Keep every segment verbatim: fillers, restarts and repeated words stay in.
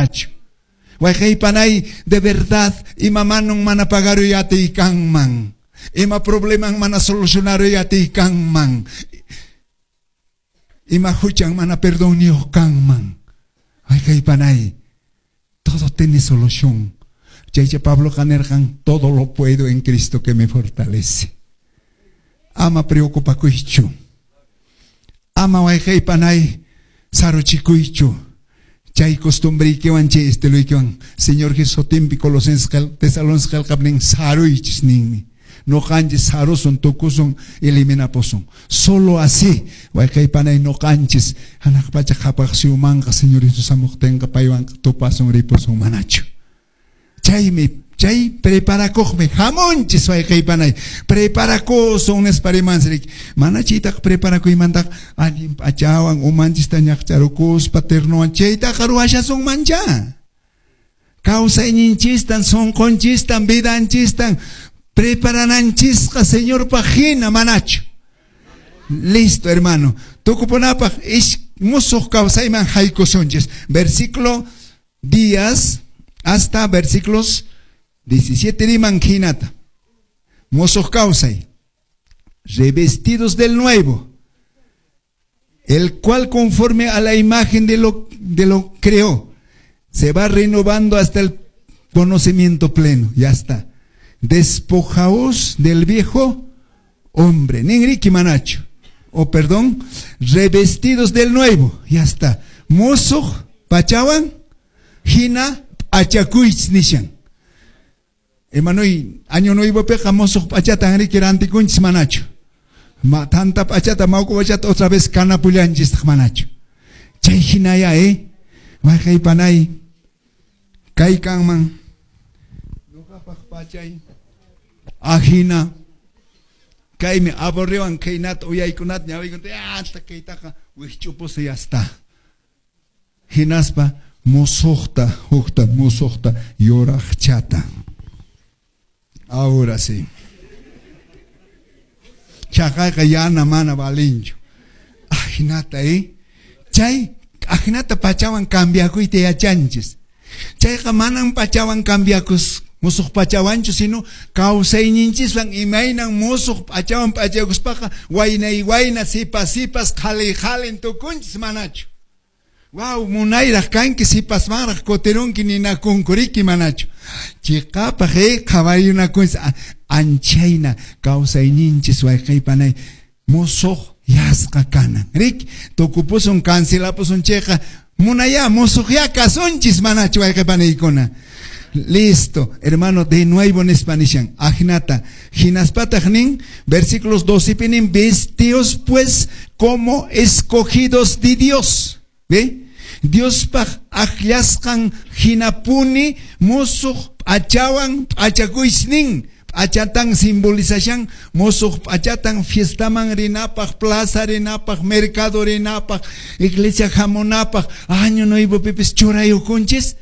manachu? Wayqey de verdad, ima manun mana pagaruy atiy kanman. Ima probleman mana solucionaruy atiy kanman. Ima huchan mana perdonniyuq kanman. Wayqey, todo tiene solución. Chaycha Pablo nirqan, todo lo puedo en Cristo que me fortalece. Ama preocupakuychu. Ama wayqey panay saruchikuychu. Chay costumbreykiwan chay estiluykiwan Señor Jesús sutinpi Colosenses Tesalonicenses qillqapnin saruychis ninmi. Noqanchis sarusun tukusun eliminapusun. Solo así wayqey panay noqanchis hanaq pacha qhapaq suyumanqa Señor Jesús hamuqtinqa paywan tupasun ripusun manachu. Chaymi chay preparakuqmi hamunchis wayqey panay preparakusun nispa rimanchik mana chaytaqa preparakuymantaqa allin p'achawan umanchista ñaqcharukuspa ternuwan chaytaqa ruwashasunmancha kawsayninchistan sunqunchistan vidanchistan preparananchisqa Señorpaq hina manachu. Listo, hermano. Tukupunapaq musuq kawsayman haykusunchis. Versículo diez hasta versículos diecisiete riman hinata. Musuq kawsay. Revestidos del nuevo, el cual conforme a la imagen de lo, de lo creó, se va renovando hasta el conocimiento pleno. Ya está. Despojaos del viejo hombre. Ninriki manachu. O perdón, revestidos del nuevo. Ya está. Musuq pachawan hina p'achakuychis nishan. Hermano, año nuevo peqa musuq p'achata riki rantikunchis manachu. Ma tanta p'achata mawk'a p'achata otra vez kanapullanchis manachu. Chay hinaya eh. Wayqey panay kay kanman ñuqapaq p'achay ajina kaymi aburriwan kaynata uyaykunata ñawiykunata hasta kaytaqa wikch'upusa ya está. Hinaspa musuqta hukta musuqta yuraqchata. Ahora sí. Chaqayqa yana mana valinchu. Ajinata eh. Chay ajinata pachawan cambiakuyta yachanchis. Chayqa manan pachawan cambiakus musuq pachawanchu sino kawsayninchiswan imaynan musuq pachawan p'achakuspaqa waynay wayna sipas sipas qhali qhalin tukunchis manachu. Wow, munayraq kanki sipasmanraq kutirunki ninakunkuriki manachu. Chiqapaq eh qhawariyunakunchis anchayna kawsayninchis wayqey panay musuq yasqa kanan. Rik tukupusun cancelapusun chayqa munaya musuq ya kasunchis manachu wayqey panaykuna. Listo, hermano, de nuevo nispa nishan. Ajinata. Hinaspataq nin, versículos doce pinin, vestios pues como escogidos de Dios. ¿Ve? Diospaq akllasqan hinapuni musuq p'achawan p'achakuychis nin. P'achatan simbolizashan musuq p'achatan fiestaman rinapaq, plaza rinapaq, mercado rinapaq, iglesia hamunapaq, año nuevo pipis churayukunchis.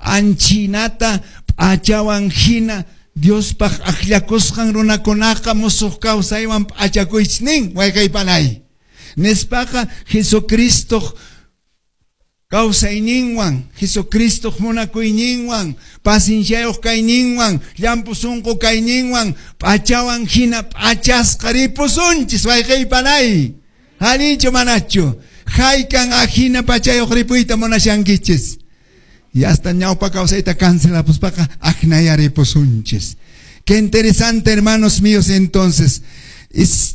Anchinata p'achawan hina Diospaq akllakusqan runakunaqa musuq kawsaywan p'achakuychis nin wayqey panay. Nispaqa Jesucristo kawsayninwan, Jesucristo munakuyninwan, pacienciayuq kayninwan, llamp'u sunqu kayninwan, p'achawan hina p'achasqa ripusunchis wayqey panay. Allinchu manachu? Haykan ajina p'achayuq ripuyta munashankichis. Y hasta ñawpa kawsayta cancelapuspaqa ajnaya ripusunchis. Qué interesante, hermanos míos, entonces.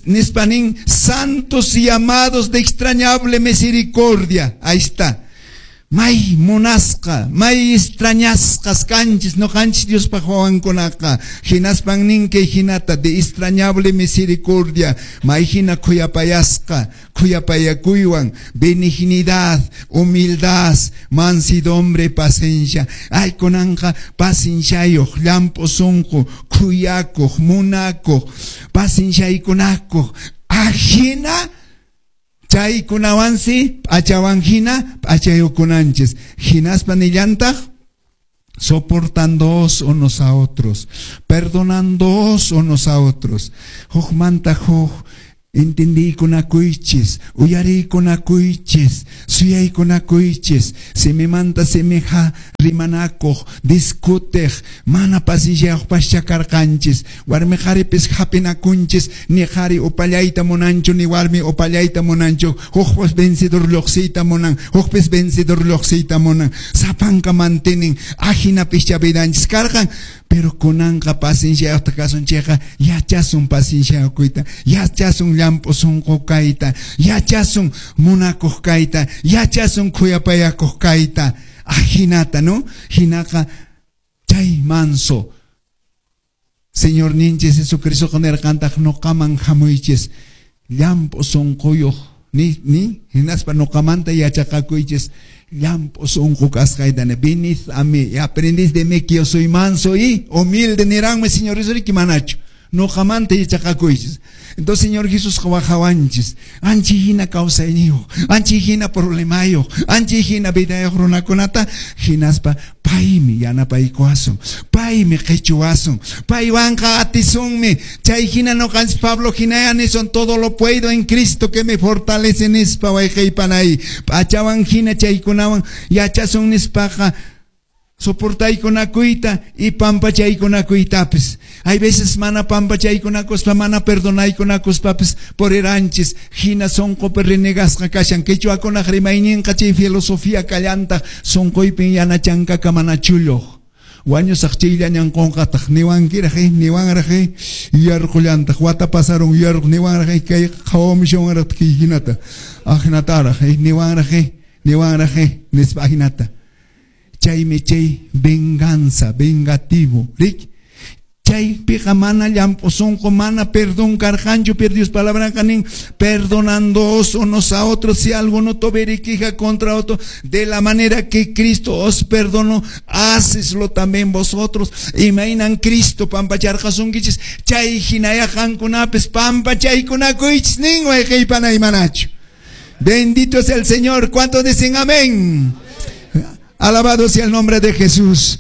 Nispanin, santos y amados de extrañable misericordia. Ahí está. May munasqa, may extrañasqas kanchis, no kanchis Diospaq wawankunaqa. Hinaspan nin kay hinata de extrañable misericordia, may hina khuyapayasqa, khuyapayakuywan, benignidad, humildad, mansidumbre, paciencia. Ay kunanqa pacienciayuq, llamp'u sunqu, khuyakuq, munakuq, pacienciaykunakuq, ajina chaykunawansi p'achawan hina p'achayukunanchis. Hinaspa nillantaq soportándoos unos a otros, perdonándoos unos a otros. Hukmanta huk Entendiykunakuychis, uyariykunakuychis, suyaykunakuychis, simimanta simiha rimanakuq, discutiq, mana pacienciayuqpascha karqanchis, warmi qharipis hapinakunchis, ni qhari upallayta munanchu, ni warmi upallayta munanchu, hukpas vencedor lluqsiyta munan, hukpis vencedor lluqsiyta munan, sapanka mantenen, ajinapischa vidanchis karqan. Pero kunanqa pacienciayuqta kasun chayqa yachasun pacienciayuqkuyta, yachasun llamp'u sunqu kayta, yachasun munakuq kayta, yachasun khuyapayakuq kayta, ajinata, ¿no? Hinaqa chay manso Señor ninchis Jesucristo nirqantaq nuqaman hamuychis llamp'u sunquyuq ni ni hinaspa nuqamanta yachaqakuychis llamp'u sunqu kasqayta, venid a mí y aprendid de mí que yo soy manso y humilde, niranmi Señor Jesús manachu nuqamanta yachaqakuychis. Entonces Señor Jesús wajawanchis ancha hina kawsayniyuq, ancha hina problemayuq, ancha hina vidayuq runakunata, hinaspa paymi yanapaykuwasun, paymi qichuwasun, paywanqa atisunmi. Chay hina nuqanchis Pablo hinaya nisun, todo lo puedo en Cristo que me fortalece nispa, wayqiypanay. P'achawan hina chaykunawan yachasun nispaqa soportaykunakuyta y pampachaykunakuytapis. Hay veces mana pampachaykunakuspa, mana perdonaykunakuspapis puriranchis, hina sunqupi renegasqa kashan. Quechuakunaq rimayninqa chay filosofía kallantaq, sunquypin yanachankaka mana chulluq. Wañusaq chayllañan qunqataq, niwankiraq, niwanraq, yuyarqullantaq, wata pasarun yuyarqu, niwanraq, kay qhawamushawanraq kay hinata, ajinataraq, niwanraq, niwanraq, nispa ajinata. Chaymi chay venganza, vengativo, rik? Chaypiqa mana llamp'u sunqu, mana perdón karqanchu, pero Dios palabra nin, perdonándoos unos a otros si alguno tuviere queja contra otro, de la manera que Cristo os perdonó, haceslo también vosotros. Imaynan Cristo pampacharqasunkichis, chay hinaya qankunapis pampachaykunakuychis nin wayqiypanay manachu. Bendito es el Señor. ¿Cuántos dicen amén? Alabado sea el nombre de Jesús.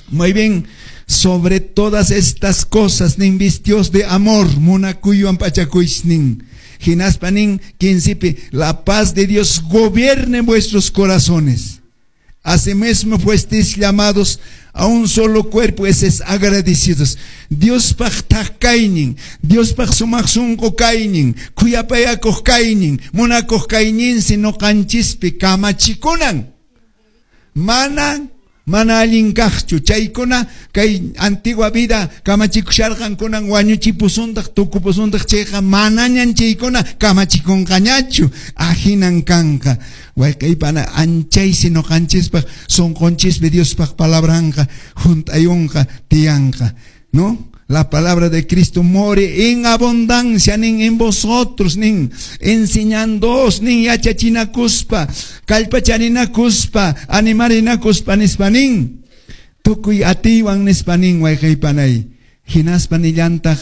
Muy bien. Sobre todas estas cosas, nin vistios de amor, munakuywan p'achakuychis nin. Hinaspa nin quincepi, la paz de Dios gobierne vuestros corazones. Asimismo fuisteis llamados a un solo cuerpo, ese es agradecidos. Diospaq thak kaynin, Diospaq sumaq sunqu kaynin, khuyapayakuq kaynin, munakuq kayninsi nuqanchispi kamachikunan. Mana mana allin kaqchu chaykuna kay antigua vida kamachikusharqankunan wañuchipusuntaq tukupusuntaq chayqa manañan chaykuna kamachikunqañachu, ahinan kanqa. Wayqiypana anchaysi nuqanchispaq sunqunchispi Diospaq palabranqa hunt'ayunqa tiyanqa, ¿no? La palabra de Cristo more en abundancia, nin en vosotros, nin enseñándoos, nin yachachinakuspa, kallpacharinakuspa, animarinakuspa, nispa nin. Tukuy atiywan nispa nin wayqiypanay. Hinaspa nillantaq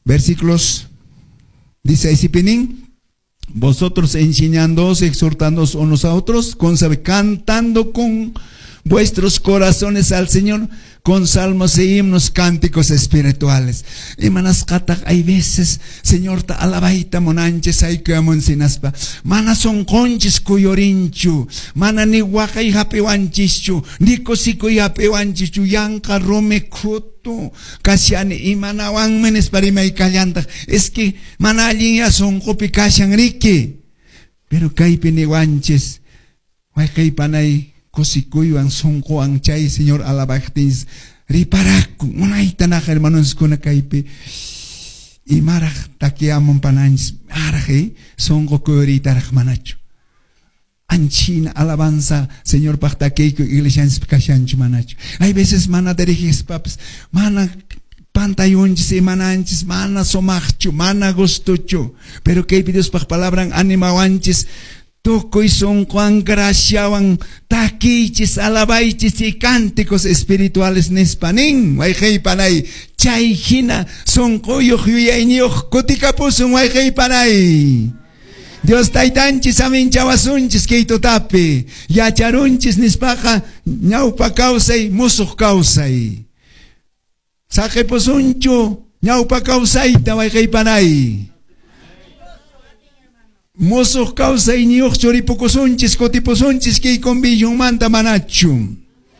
versículos dice ahí nin, vosotros enseñándoos, exhortándoos unos a otros, con sabe, cantando con vuestros corazones al Señor, con salmos e himnos, cánticos espirituales. Imanasqataq hay veces, Señor, ta alabayta munanchis aykuyamunsinaspa, mana sunqunchis kuyurinchu, mana ni waqay hapiwanchischu, ni kusikuy hapiwanchischu, yanqa rumi khutu kashani imanawanmi nispa rimaykallantaq. Es que mana allin ya sunqupi kashan riki. Pero kaypi niwanchis, wayqiypanay, kusikuywan sunquwan chay Señor alabaqtinchis riparakun unayta naqa hermanoskuna kaypi imaraq takiyamun pananchis araq eh, sunqu kuyuriytaraq manachu. Anchina alabanza Señor paq takiyku iglesianchispi kashanchu manachu. Hay veces mana dirigispapis mana pantayunchis imananchis mana sumaqchu mana gustuchu, pero kaypi Diospaq palabran animawanchis tukuy sunquwan graciawan takiychis alabaychis y cánticos espirituales nispa nin wayqiypanay. Chay hina sunquyuq yuyayniyuq kutikapusun wayqiypanay. Dios taytanchis aminchawasunchis kay tutapi yacharunchis nispaqa ñawpa kawsay musuq kawsay. Saqipusunchu ñawpa kawsayta wayqiypanay. Musuq kawsayniyuqchu ripukusunchis, kutipusunchis kay convencionmanta manachu.